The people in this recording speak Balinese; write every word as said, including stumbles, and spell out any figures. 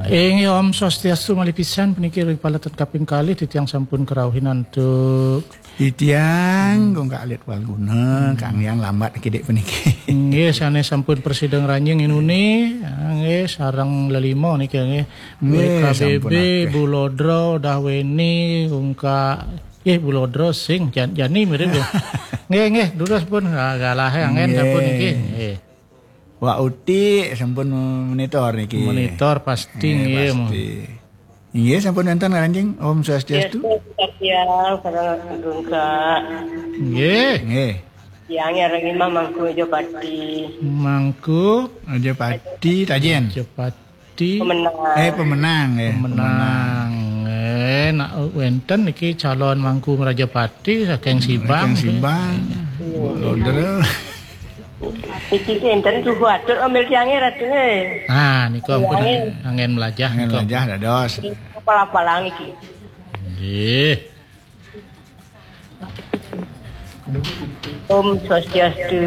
Inggih, Om Swastiastu malih pisan puniki ring paletan kaping kalih titiang sampun kerauhin antuk. Titiang Gungkak Alit Walguna, Kang Hyang lambat kidik puniki. Nggih, sané sampun prasida ngranjing inuni, nggih, sareng lelima niki nggih. Nggih, K B B, sampun akéh. Bu Lodra, Dahweni, Gungkak, nggih, Bu Lodra sing, Jan-, Jani mirip ya. Nggih, nggih, durus pun, ah, galah angén sampun niki. Nggih. Wak Uti sampun monitor niki. Monitor pasti nggih, nggih, pasti. Inggih, sampun wénten ngranjing. Om Swastiastu. Swastiastu, sareng Gungkak. Nggih. Nggih. Tiang ngiring mah Mangku Rajapati. Mangku Rajapati, Tajen. Rajapati. Pemenang. Eh, pemenang, eh. Pemenang. Eh, nak wénten niki calon Mangku Rajapati saking Sibang. Saking Sibang. Iya. Lodra. Iki ki enten tuhu atur ambil tiangé Ratu, eh. Ah, niku ampun. Tiangé. Angén melajah. Angén melajah dados. Apal-apalang iki. Nggih. Om Swastiastu.